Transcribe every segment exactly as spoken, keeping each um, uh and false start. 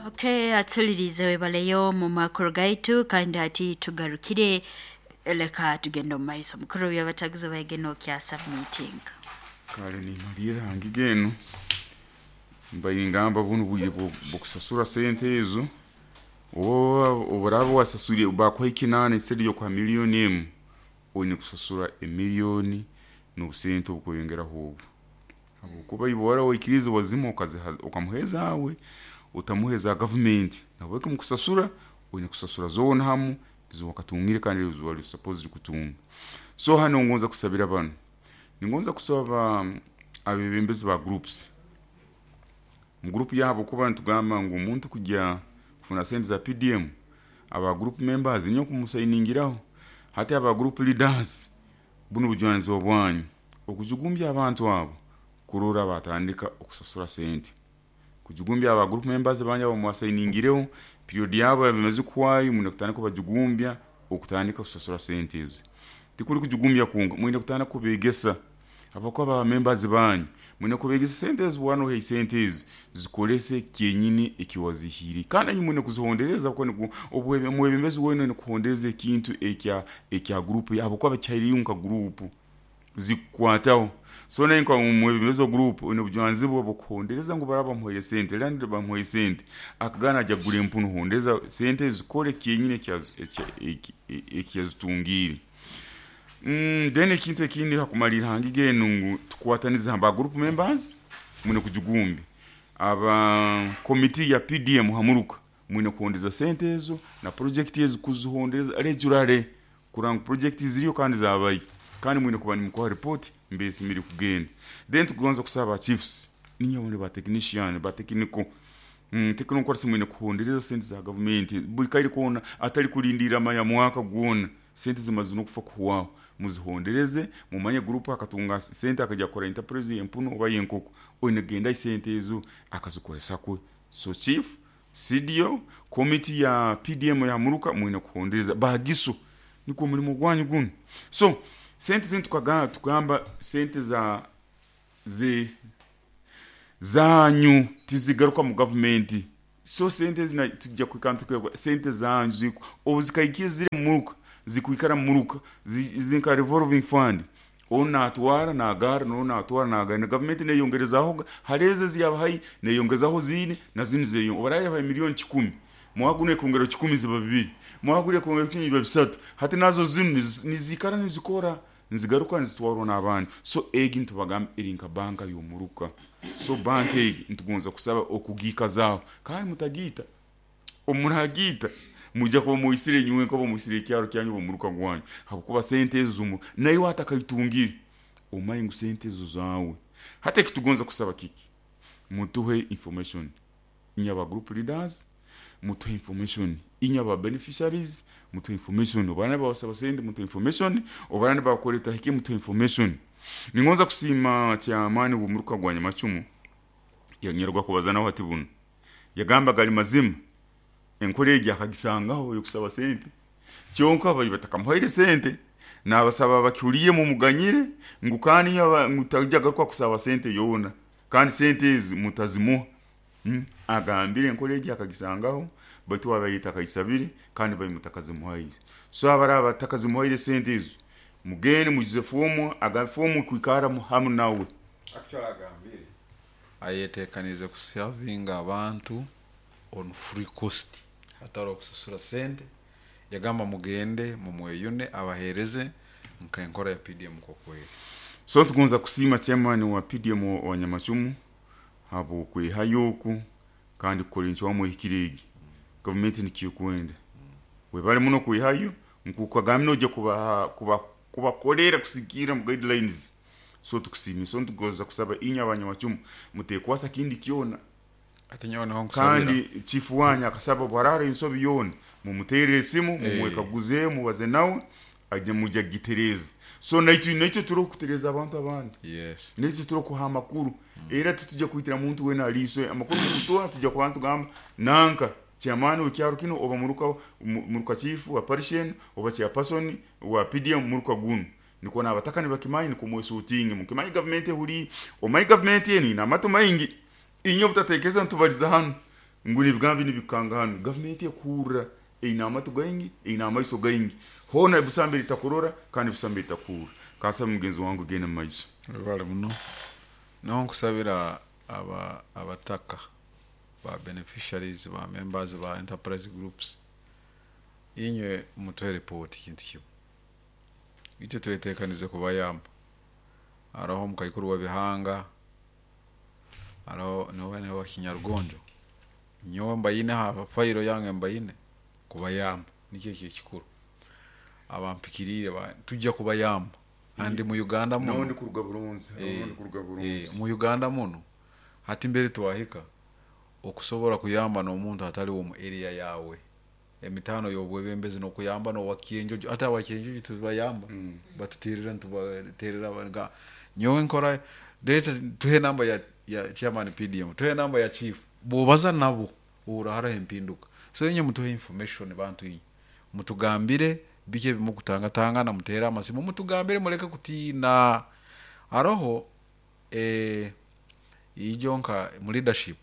Okay, atulirize webaleyo mu makuru gaitu kandi hati tugarukire leka tugende omu maiso mukuru byabataguzi baigeno kya submitting. Kale nimalira hangi genu mbaire ngamba bunu bwire bwokusasura sente ezo oba oburaba wasasuriye bakuha ekinana instead yokuha miliyoni emu oine kusasura emiliyoni n'obusente obukweyongeraho obu habwokuba iwe wara waikirize wazimuha okaziha okamuha ezaawe otamuha eza gavumenti nahabweki mukusasura oine kusasura zoona hamu ezi wakatungire kandi ezi wali supposed kutunga. So hanu ngonza kusabira banu, ningonza kusaba abebembezi ba groups mu group yabo kuba nitugamba ngu omuntu kujya kufuna sente za P D M aba group members niyo kumusainingiraho hati aba group leaders bunu bujwanizibwa bwanyu okujugumbya abantu abo kurora batandika okusasura sente kujugumbya aba group members banyu abo mwasayiningireho period yabo yabamaze kuhwayo mwine kutandika kubajugumbya okutandika kusasura sente ezo. Tikuli kujugumbya kwonka, mwine kutandika kubegesa habwokuba aba members banyu mwine kubegesa sente ezo bwana sente ezo zikolese kyenyini ekiwazihire kandi inywe mwine kuzihondereza omwebembezi wena oine kuhondereza ekintu ekya ekya group habwokuba kihaireyo nka group zikukwataho. So nawe nka omwebembezi wa group oine obujwanizibwa bw'okuhondereza ngu baraba bamuhaire sente landlord bamuhaire sente akagana ajya kugura empunu hondeza sente zikole kyenyini ekiyazitungiire. Mm, then ekintu ekindi hakumalira hangi enu ngu tukwatanize ba group members mwine kujugumbi aba committee ya P D M hamuruka mwine kuhondeza sente ezo na project ezo kuzihondereza regularly kuranga project ziriyo kandi zabayo kandi mwine kuba nimukuha report mbesi miri kugenda. Then tukugonza kusaba chiefs ninyo ba technician ba technical mm, technical mwine kuhondereza sente za government buli kaire kona atali kulindira maya mwaka gwona sente zimaze nokufa kuhwaho muzihondereze mumanye group akatunga sente akajya kukora enterprise yempuno oba yenkoko oine genda sente ezo akazikoresa kwe. So chief C D O committee ya P D M ya muruka mwine kuhondereza bagiso niko mulimo gwanyu guno. So sente zintu tukagana tukamba sente za ze zanyu tizigaruka mu government. So sente zina tujja kwikantuka sente zanyu obuzikaikiye ziri muruka zikuikara muruka zinka revolving fund ona atwara na agara nona atwara na agara na government neyongerezaho hareze ziyabahayi neyongezaho zini na zini zeyo obaraya ba milioni kikumi mwagune kongera kikumi ziba bibiri mwagure kongera kikumi biba bisatu hati nazo zinu nizikara nizikora nzigaruka nzitwarwa n'abandi. So egi ntubagamba eri nka banka y'omuruka. So banka egi ntugonza kusaba okugikazaho kandi mutagita omuragita mujja kuba muisire nywe nko muisire kyaro kyanyu omuruka gwanyu habwokuba sente ezo nayo atakaitungire omanyi ngu sente ezo zawe. Hata ekitugonza kusaba kiki mutuhe information inya ba group leaders mutuhe information inya ba beneficiaries mutuhe information obana basaba sente mutuhe information obana bakoleta hiki mutuhe information. Ningonza kusima chairman w'omuruka gwa Nyamacumu yanyerwa kubaza nawe ati buno yagamba gali mazima enkore egi akagisangaho yokusaba sente kyonka bayi batakamuhaire sente nabasaba bakihuliye mu muganyire ngu kandi ngutajya garuka kusaba sente yona kandi sente ezi mutazimuha. Hmm? Agambire enkore egi akagisangaho batu abayita akayisabire kandi bayimutakazimuhaire. So abara batakazimuhaire sente ezo mugende mujize fomu aga fomu kwikara hamu nawe. Actually agambire ayetekanize kusavinga abantu on free cost atari kusasura sente yagamba mugende mumweyune abahereze nka enkora ya P D M kokweri. So tukunza kusima chairman wa P D M wa Nyamacumu habo kwehayoku kandi kukola wamwe ikiregi government nikikwenda webale muno kwehayo nkukagamino oje kuba kuba kubakolera kusigira mu guidelines. So tukusima so tugoza kusaba inya abanyamacumu mutekwasa kindi kyona kandi chief wanyu akasaba bwarara insobi yona mumutere esimu mumwekaguze mubaze nawe aje mujya gitereza. So naitu naitu turo kutereza abantu abandi. Yes, naitu turo kuha amakuru era tutujya kuitira muntu wena aliswe amakuru kutoa tujya ku bantu gamba nanka chairman w'ekyaro kino oba muruka muruka chief wa parishen oba chairperson wa P D M muruka gunu niko nabataka nibakimanyi niko mwesutinge mukimanyi government ehuri omanyi government eni na mato maingi Inyo butatekereza ntubaliza hanu ngu nibigambi nibikanga hanu. Gavumenti ekuhurra, eine amatu gaingi, eine amaiso gaingi, hoona busambi litakurora kandi busambi litakuhurra. Kansaba mugenzi wange genda mu maiso. Webale muno. Naho nkusabira aba abataka ba beneficiaries, ba members ba enterprise groups, inywe mutuhe report. Kintu kimu itwe twetekanize kubayamba. Haraho omukaikuru wa bihanga, haraho niwe niwe wa kinyarugonjo, nyowe mbayine ha fayiro yange, mbayine kubayamba. Nikyo ekyo ekikuru abampikiriire ba- tujja kubayamba andi mu Uganda muno. Nawe ndi kuruga buronzi. Eh, Nawe ndi kuruga eh, buronzi. Mu Uganda muno hati mbere twahika okusobola kuyamba n'omuntu atali womu area yawe, emitano y'obwebembezi n'okuyamba n'owakyenjojo, ate awakyenjojo tubayamba, Mm. batuterera, ntubaterera nga nyowe nkora leta tuhe namba ya, ya chairman P D M, tuhe namba ya chief, bwobaza nabo uraharaho empinduka. So inye mutuhe information, bantu inye mutugambire biki ebimukutangatangana, mutere amasimu mutugambire, muleke kutiina. Aroho eh, ijo nka mu leadership,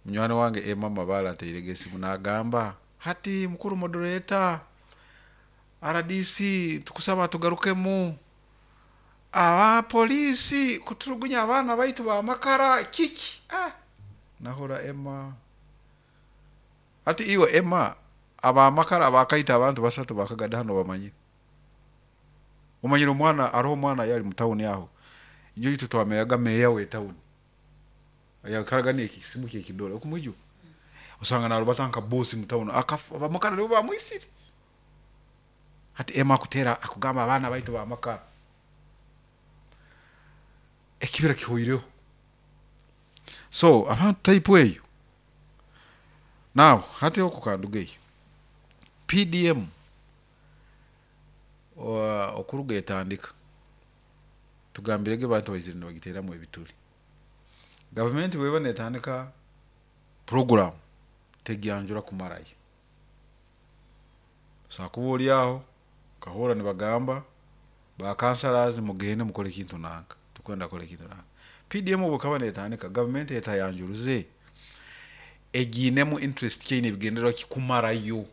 munywani wange Emma Mabala ateirege esimu nagamba hati, mukuru moderator, R D C tukusaba tugarukemu, abapolisi kuturugunya abaana baitu bamakara kiki. Ah, nahura Emma ati iwe Emma, abamakara abakaita abantu basatu bakagada hano bamanyire, umanyire omwana, aroho omwana yali mutawuni aho injo itu twameyaga meya we tawuni yakaraga nekisimu kyekidole okumwijuka, usanga narubata nka bosi mutawuni, akafa abamakara nibo bamwisire. Hati Emma akutera akugamba abaana baitu bamakara ekibira kihoireho. So abantu type eyo now hati okukanduga eyo P D M o- okuruga etandika, tugambirege bantu baizire nibagiteramu ebituli. Gavumenti bweba netandika program tegyanjura kumarayo, sakuba oli aho kahura nibagamba ba councillors mugende mukole ekintu nanka, tukwenda kukora ekintu nanka. P D M obukaba netandika, gavumenti etayanjuruze egiinemu interest kyeine ebigendererwa kikumarayo.